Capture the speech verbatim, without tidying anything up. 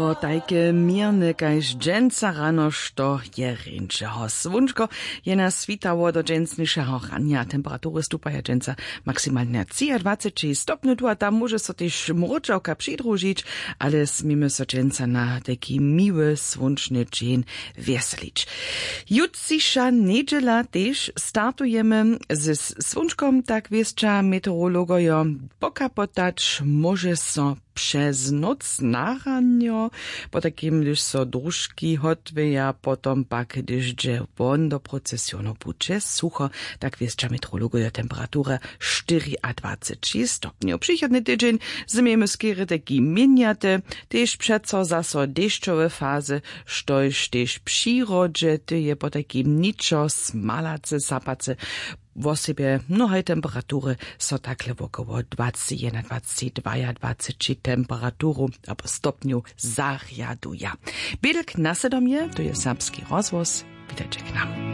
O tajke měrne kaž dźensa rano što je rjeńšeho słónčko je nas switało do dźensnišeho ranja. Temperatury stupaja dźensa maksimalnje třiadwaceći stopnju tu a tam móže so tež mróčawka přidružić, ale směmy so dźensa na tajki miły słónčny dźeń wjeselić. Jutřiša njedźela tež startujemy ze słónčkom, tak wěsća meteorologojo. Pokapotać móže so přez noc na ranjo, potajkim hdyž so družki hotwěja, potom pak hdyž dźe won do procesionu budźe sucho. Tak wěsća meteorologojo. Temperature štyriadwaceći stopnjow přichodny tydźeń. Změmy skerje tajki měnjate, tež přeco zaso dešćowe fazy, štož tež w přirodźe ty je potajkim ničo smalace sapace. Wosebje mnohaj temperatury so takle wokoło dwaceći jednadwaceći dwaadwaceći temperaturu abo stopnjow zarjaduja. Bědlk na sydom je, to je serbski rozhłos. Witajće k nam.